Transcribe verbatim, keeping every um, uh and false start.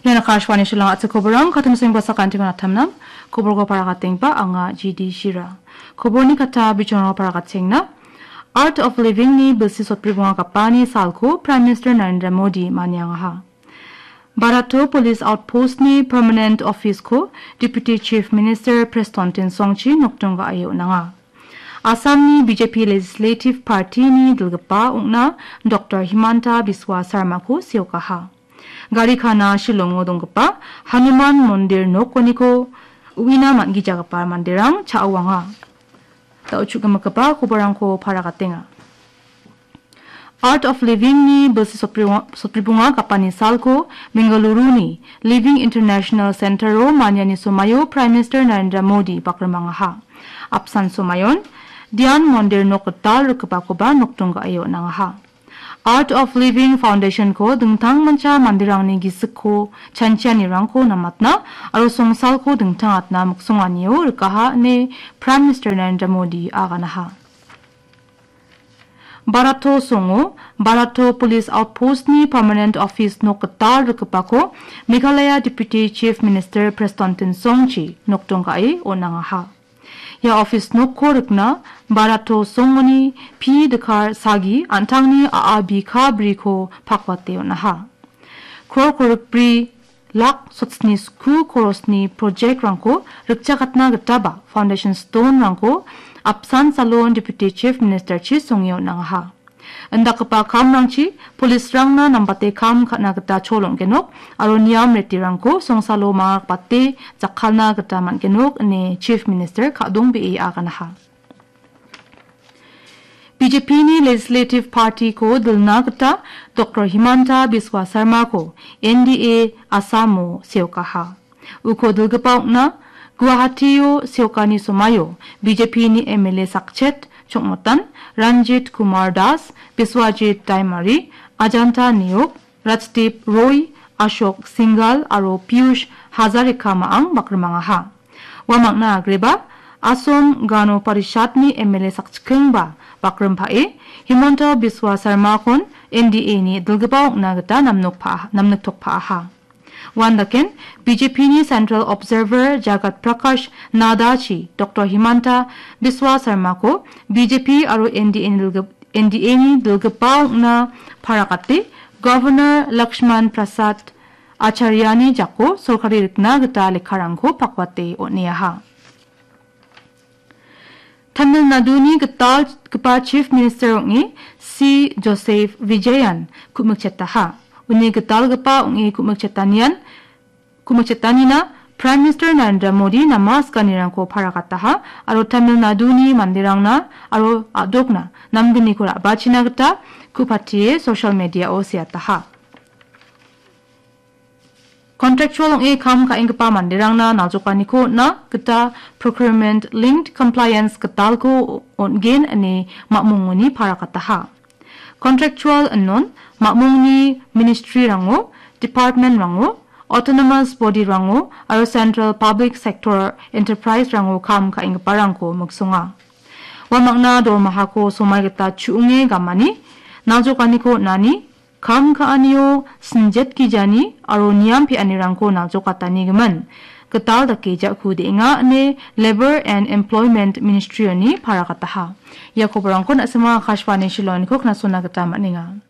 Ian Akashvani Shillong a·chik koborang, kattun sengba sakantiman atamnam, koborko paragatengba anga G D Shira. Koborni kata bichongrang paragatenga. Art of Living-ni bilsi sotbribonga gapani salko Prime Minister Narendra Modi maniangaha. Barato Police Outpost-ni Permanent Office-ko Deputy Chief Minister Prestone Tynsongchi nokdong ga·e on·anga. Assamni B J P Legislative Party-ni dilgipa ong·na Doctor Himanta Biswa Sarmako seokaha. Gari kana Shillongo donggipa Hanuman Mondir nokoniko uina man·gijagipa manderang cha·oanga. Da·o chu·gimikgipa koborangko paragatenga. Art of Living-ni bilsi sotbri-, sotbribonga gapani salko Bengaluru-ni Living International Center-o maniani somaio Prime Minister Narendra Modi bakrimangaha. Apsan somaion Dhyan Mondir nok gital rikgipakoba nokdong ga·e on·angaha. Art of Living Foundation-ko dingtangmancha manderangni gisikko chanchianirangko namatna aro songsalko dingtangatna miksonganio rikaha ine Prime Minister Narendra Modi aganaha. Barato songo Barato Police Outpost-ni Permanent Office nok gital rikgipako Meghalaya Deputy Chief Minister Prestone Tynsongchi nokdong ga·e on·angaha. Ia office nokko rikna Barato songoni P Dikar Sagi an·tangni a·a bika briko pakwate on·aha. Kror korikbri lak sotsni sku korosni project-rangko rikchakatna gitaba foundation stone-rangko apsan salon Deputy Chief Minister-chi songe on·angaha. Indakgipa kamrangchi police-rangna nambate kam ka·na gita chol ong·genok aro niam retirangko songsalo mangrakbate jakkalna gita man·genok ine Chief Minister ka·dongbee aganaha. B J P-ni Legislative Party-ko dilna gita Doctor Himanta Biswa Sarmako N D A Assam-o seokaha. Uko dilgipa ong·na Guwahati-o seokani somaio B J P-ni M L A sakchet chongmotan Ranjit Kumar Das, Biswajit Daimari, Ajanta Neok, Rajdeep Roy, Ashok Singhal aro Piyush Hazarika ma·ang bakrimangaha. Ua mangna agreba Asom Gano Parishadni M L A sakchikengba bakrimpao Himanta Biswa Sarmakon N D A-ni dilgipa ong·na gita namnokpa-, namniktokpaaha. Uandaken B J P-ni Central Observer Jagat Prakash Naddachi Doctor Himanta Biswa Sarmako B J P aro N D A-ni dilgip-, N D A-ni dilgipa ong·na paragate Governor Lakshman Prasad Acharyani jako sorkari rikna gita lekkarangko pakwate on·eaha. Tamil Naduni gitalgipa Chief Minister ong·e C Joseph Vijayan ku·mikchetaha. Uni gitalgipa ong·e ku·mikchetanian, ku·mikchetanina Prime Minister Narendra Modi namaskanirangko paragataha aro Tamil Naduni manderangna aro a·dokna namgniko ra·bachina gita ku·patie social media-o seataha. Contractual ong·e kam ka·enggipa manderangna naljokaniko on·na gita procurement linked compliance gitalko on·gen ine mamungoni paragataha. Contractual inon mamungni ministry-rango, department-rango, autonomous body-rango aro central public sector enterprise-rango kam ka·enggiparangko miksonga. Uamangna dormahako somai gita chu·onge gamani, naljokaniko on·ani, kam ka·anio sinjet gijani aro niam pe·anirangko naljokatani gimin gital dake ja·ku de·enga ine Labour and Employment Ministry-oni paragataha. Ia koborangko na·sima Akashvani Shillong-niko knasona gita man·enga.